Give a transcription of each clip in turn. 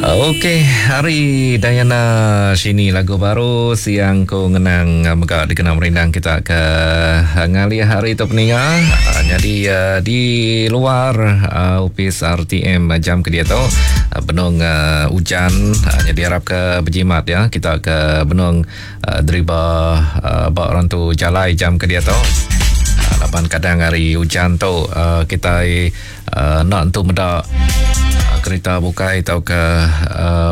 Okey, hari Diana Shini lagu baru siang ku ngenang mega dikena merindang kita ke ngalih hari tu peninga. Nyadi di luar opis RTM jam ke diatu benung ujan nyadi arap ke bejimat ya kita ke benung deriba ba rantu jalai jam ke diatu. Laban kadang hari ujan tu kitai Enda entu meda kerita bukai tauka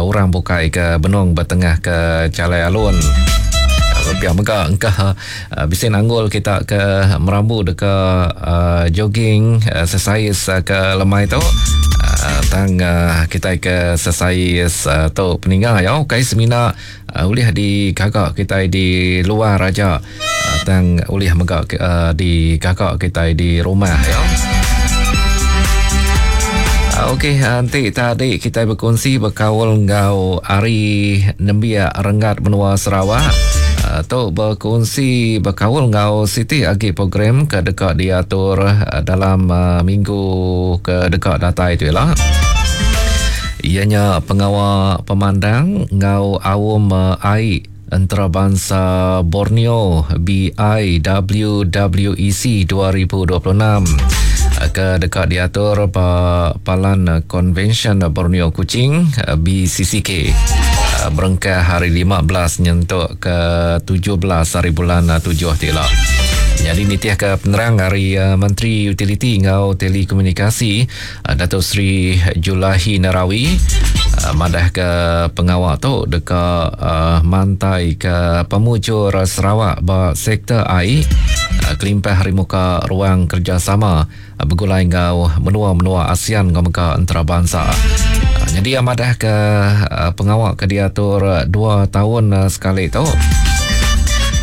orang bukai ke benung betengah ke jalai alun. Pia mega engka bisi nanggul kita ke merambu deka jogging exercise ke lemai tu. Tang kitai ke exercise tu peninga ya ukai semina ulih digaga kitai di luar aja. Tang ulih mega digaga kitai di rumah ya. Okey, enti tadi kitai bekunsi bekaul enggau ari nembiak renggat menua Sarawak. Tu bekunsi bekaul enggau siti agi program ke deka diatur dalam minggu ke deka datai tu ila. Iya nya pengawa pemandang enggau aum ai Entarabansa Borneo, BIWWEC 2026 ke deka diatur ba Palan Konvensyen Borneo Kuching, BCCK, berengkah hari 15 nyentuk ke 17 hari bulan tujuh ti ila. Nyadi nitihka penerang ari Menteri Utiliti enggau Telekomunikasi, Dato Sri Julaihi Narawi madahka pengawa tu deka mantaika pemujur Sarawak ba sektor ai kelimpah ari muka ruang kerejasama begulai enggau menua-menua ASEAN enggau mega entarabansa. Nyadi iya madahka pengawa ke diatur dua taun sekali tu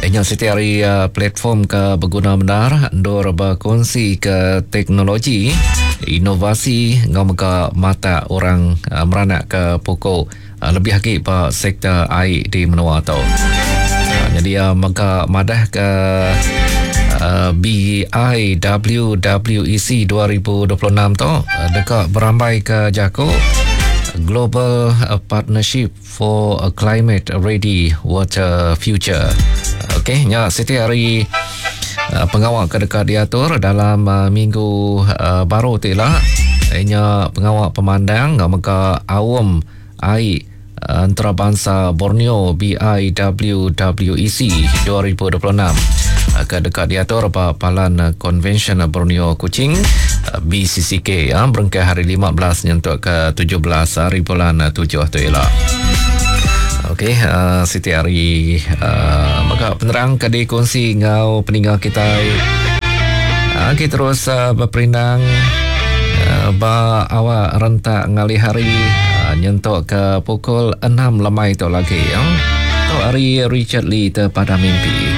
nya siti ari platform ke beguna bendar endur bekunsika teknologi, inovasi enggau mega matak orang meranakka puku lebih agi ba sektor ai di menua tu. Nyadi iya mega madahka BIWWEC 2026 tu deka berambaika jaku Global Partnership For a Climate Ready Water Future. Okey, nya siti hari uh, pengawa ke deka diatur dalam uh, minggu uh, baru ti ila. Nya pengawa pemandang enggau mega aum ai uh, antarabangsa Borneo BIWWEC 2026 ke deka diatur ba Palan Konvensyen Borneo Kuching BCCK ya, berengkah hari 15 nyentuk ke 17 hari bulan 7 tu ila. Okey, uh, siti hari uh, mega penerang ke dikongsi enggau peninga kita. Uh, kita terus uh, berperindang uh, ba awak rentak ngalih hari uh, nyentuk ke pukul 6 lemai tu lagi. Ya. Tu hari Richard Lee terpada mimpi.